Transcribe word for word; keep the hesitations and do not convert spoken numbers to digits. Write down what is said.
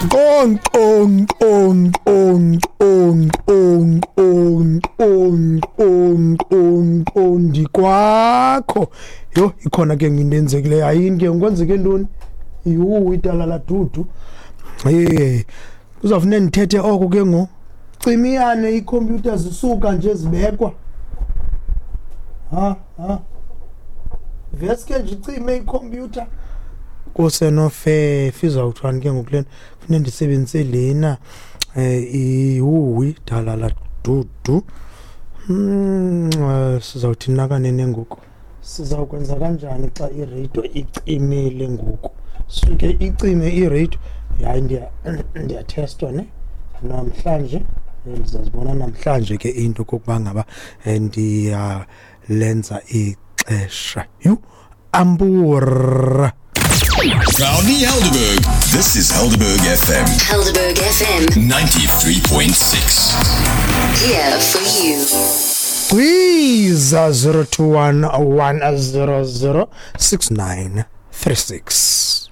Qong qong qong qong qong qong qong qong qong qong qong ndikwakho. Yho, ikhona ke into enzekileyo. Ayini ke kwenzeke ntoni? Yhu, idala ladudu. Hey, kuzawufuneka ndithethe oko ke ngoku. Cimiyane iikhompyutha zisuka nje zibekwa. Ha ha, veske nje icime ikhompyutha kusenofefe. Izawuthwani ke ngoku lena? Funeka ndisebenzise lena um ihuwi dala ladudu. Hmm, sizawuthi nakanene ngoku sizawukwenza kanjani xa ireyido icimile ngoku? Suke icime ireyido. Hayi, ndiyathestwa ne namhlanje. Ndizazibona namhlanje ke into kokuba ngaba ndiyalenza ixesha. Yhu, ambura. Proudly Helderberg. This is Helderberg F M. Helderberg F M. ninety-three point six. Here for you. Kwiza zero two one one zero zero six nine three six.